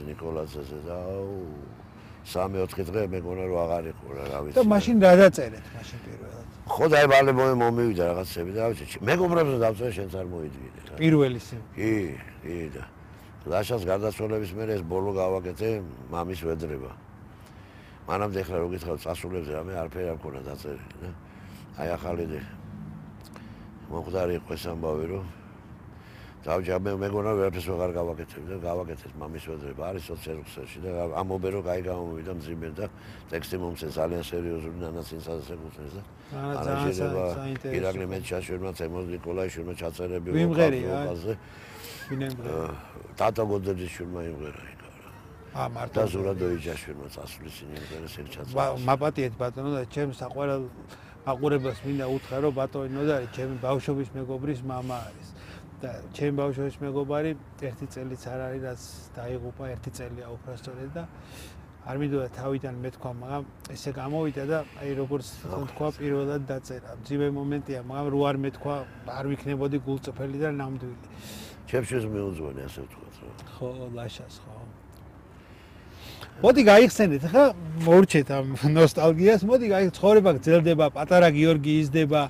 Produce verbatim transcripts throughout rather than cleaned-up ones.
ნიკოლაძე ნიკოლაძეზე და სამი-ოთხი დღე მეგონა რომ აღარ იყო რა, რა ვიცი. და მაშინ რა დაწერეთ მაშინ პირველად? ხო და აი ბალე მომივიდა რაღაცები და რა ვიცი, მეგობრებს დავწერე შენც არ მოიდგინე რა. პირველი სიმ. კი, კი და ლაშას გარდაცვალების მერე ეს ბოლო გავაკეთე მამის ვედრება. მანამდე ახლა რო გითხრათ წასულებზე რამე არაფერი არ მქონა დაწერილი და აი ახალი მოხდარი იყო ეს ამბავი რომ დავჯამე მეგონა ვერაფერს ვეღარ გავაკეთებ და გავაკეთეთ მამის ვედრება არის სოციალურში და ამობე რომ კაი გამომივიდა მძიმე და ტექსტი მომწე ძალიან სერიოზული ნანაცინსაზე ეკუთვნის და არა შეიძლება ირაკლი მეჩაშვილმა თემოზ ნიკოლაიშვილმა ჩაწერები ვიმღერია ვინემღერა თათა გოდეჯიშვილმა იმღერა ა მარტო და ზურადოიჯაშვილმა წასulis იმღერა სენ ჩაწერა მაპატიეთ ბატონო და ჩემს საყვარელ აყურებას მინდა უთხრა რომ ბატონო და ჩემი ბავშვობის მეგობრის მამა არის და ჩემი ბავშვობის მეგობარი ერთი წელიც არ არის რაც დაიღუპა ერთი წელია უფროსწორედ და არ მინდოდა თავიდან მეთქვა მაგრამ ესე გამოვიდა და აი როგორც თქვა პირველად დაწერა მძიმე მომენტია მაგრამ რო არ მეთქვა არ ვიქნებოდი გულწრფელი და ნამდვილი ჩემშიც მიუძღვენე ასე ვთქვათ რა ხო ლაშას ხო მოდი გაიხსენეთ ხა მორჩეთ ამ ნოსტალგიას მოდი გაიხ ცხოვრება გრძელდება პატარა გიორგი იზრდება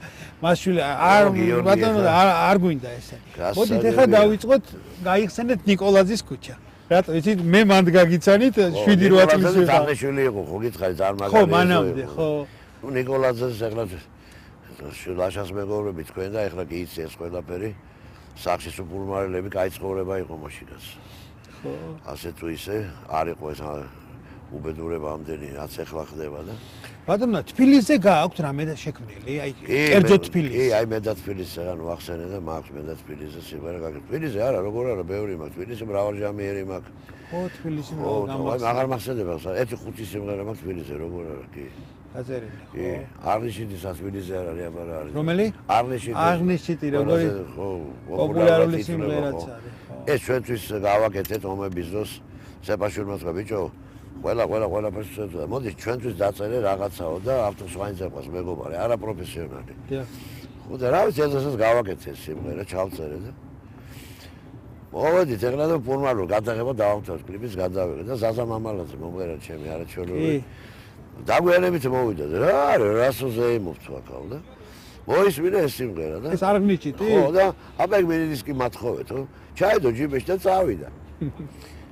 მასშვილი არ ბატონო არ გვინდა ესე მოდით ხა დავიწყოთ გაიხსენეთ ნიკოლაძის ქუჩა რატო იცით მე მანდ გაგიცანით შვიდი რვა წლის ვიყავ თაღეშვილი იყო ხო გითხარი წარმაგარი ხო მანამდე ხო ნუ ნიკოლაძეს ახლა ლაშას მეგობრები თქვენ და ახლა კი იცი ეს ყველაფერი სახში სუპურმარელები კაი ცხოვრება იყო მაშინაც ხო ასე თუ ისე არ იყო ეს უბედურება ამდენი რაც ახლა ხდება და ბატონო თბილისზე გააქვთ რამე და შექმნილი აი კერძო თბილისი კი აი მე და თბილისზე ანუ ახსენე და მაქვს მე და თბილისზე სიმღერა გაკეთე თბილისზე არა როგორ არა ბევრი მაქვს თბილისში მრავალჟამიერი მაქვს ხო თბილისი მრავალ გამახსენე მაგარ მახსენდება ერთი ხუთი სიმღერა მაქვს თბილისზე როგორ არა კი გაწერილი კი არნიშიძის თბილისზე არ არის აბა რა არის რომელი არნიშიძე არნიშიძე როგორი ხო პოპულარული სიმღერაც არის ეს ჩვენთვის გავაკეთეთ ომების დროს სეპაშვილმა თქვა ბიჭო ყველა ყველა ყველაფერს შეძლო მოდი ჩვენთვის დაწერე რაღაცაო და ავტორს ვაინძაყავს მეგობარი არა პროფესიონალი დიახ ხო და რა ვიცი ესეც გავაკეთე სიმღერა ჩავწერე და მოვედით ეხლა და ფორმალურ გადაღება დავამთავრეთ კლიპის გადავიღე და ზაზა მამალაძე მომღერა ჩემი არაჩვეულებრივი დაგვიანებით მოვიდა და რა არის რასოზე იმოვთო აქაო და მოისმინე ეს სიმღერა და ეს არ გნიჭიტი ხო და აბა მენიდის კი მათხოვეთო ჩაიდო ჯიბეში და წავიდა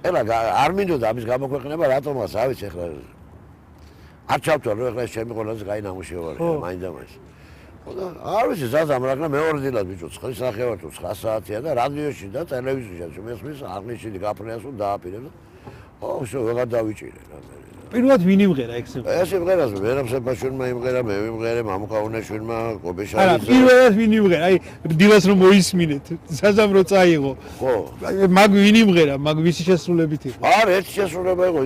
ეხლა არ მინდოდა ამის გამოქვეყნება რატომაც რა ვიცი ეხლა არ ჩავთვალ რომ ეხლა ჩემი ყველაზე კაი ნამუშევარია მაინდა მაინც ხო და არ ვიცი ზაზამ რა მეორე დილად ბიჭო ცხრის ნახევარ თუ ცხრა საათია და რადიოში და ტელევიზიაში მესმის აღნიშნული გაფრენას რომ დააპირებ ხო შო ვეღარ დავიჭირე რა პირველად ვინ იმღერა ეგ სიმღერა? ეს სიმღერას ვერამ სეპაშვილმა იმღერა, მე ვიმღერე, მამუკაუნაშვილმა, კობეშალიძე. არა, პირველად ვინ იმღერა? აი, დილას რომ მოისმინეთ, საზამ რო წაიღო. ხო. მაგ ვინ იმღერა? მაგ ვისი შესრულებით იყო? არა, ერთი შესრულება იყო,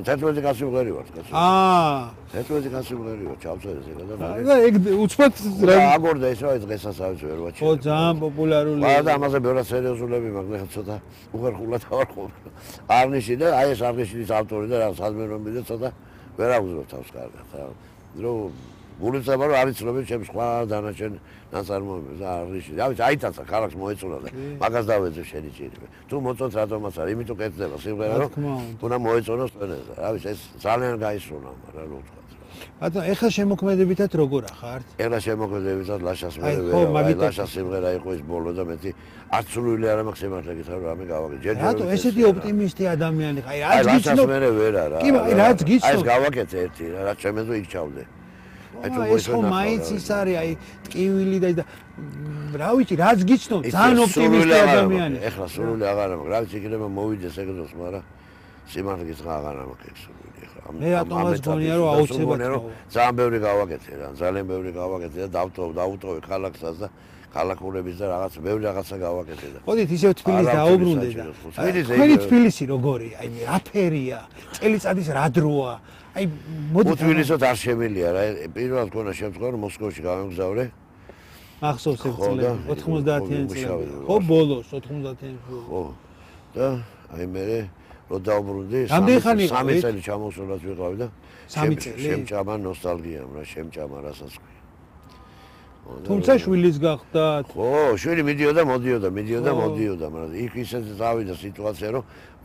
თერთმეტი კაცი იმღერი ვარ, კაცო. აა. თერთმეტი კაცი იმღერი ვარ, ჩავწერე ეგ და. და ეგ უცბად რა აგორდა ეს რა ეს დღესაც ვერ ვაჩვენე. ხო, ძალიან პოპულარული. არა და ამაზე ბევრად სერიოზულები მაქვს, ხა ცოტა უხერხულად ვარ ხო. არნიში და აი ეს არნიშის ავტორი და რა საზმერომი და ცოტა ვერ აღვზრობ თავს კარგად რა რომ გულიცება რომ არის ცნობილი ჩემს სხვა დანარჩენ ნაწარმოებებს და არნიში რა ვიცი აიტაცა ქალაქს მოეწონა და მაგას დავეძებ შენი ჭირიმე თუ მოწონთ რატომაც არის იმიტომ კეთდება სიმღერა რომ უნდა მოეწონოს ყველას რა ვიცი ეს ძალიან გაისროლა მაგრამ რა ვთქვა ბატონო ეხლა შემოქმედებითად როგორ ახართ? ეხლა შემოქმედებითად ლაშას მე ვერა ლაშას სიმღერა იყო ის ბოლო და მეტი არც სრული არ მაქვს სიმართლე გითხრა რომ ამე გავაკეთე ჯერ ჯერ რატო ესეთი ოპტიმისტი ადამიანი ხარ? აი რაც გიცნობ ლაშას მე ვერა რა კი აი რაც გიცნობ აი ეს გავაკეთე ერთი რა რაც შემეძო იქ ჩავდე აი თუ ეს ხო მაინც ის არის აი ტკივილი და რა ვიცი რაც გიცნობ ძალიან ოპტიმისტი ადამიანი ეხლა სრული აღარ მაქვს რა ვიცი იქნება მოვიდეს ეგ დროს მაგრამ სიმართლე გითხრა აღარ მაქვს სრული მე ატომას გონია რომ აუცილებლად ძალიან ბევრი გავაკეთე რა ძალიან ბევრი გავაკეთე და დავტო დაუტოვე ქალაქსაც და ქალაქურების და რაღაც ბევრი რაღაცა გავაკეთე და მოდით ისევ თბილისს დაუბრუნდე და თქვენი თბილისი როგორია აი რაფერია წელიწადის რა დროა აი მოდით თბილისოთ არ შემილია რა პირველად გქონა შემთხვევა რომ მოსკოვში გავემგზავრე ახსოვს ეს წელი ოთხმოცდაათიანი წელი ხო ბოლოს ოთხმოცდაათიანი ხო და აი მე რო დაუბრუნდი სამი წელი ჩამოსულაც ვიყავი და სამი წელი შემჭამა ნოსტალგიამ რა შემჭამა რასაც ქვია თუმცა შვილის გახდათ ხო შვილი მიდიოდა მოდიოდა მიდიოდა მოდიოდა მაგრამ იქ ისე დავიდა სიტუაცია რომ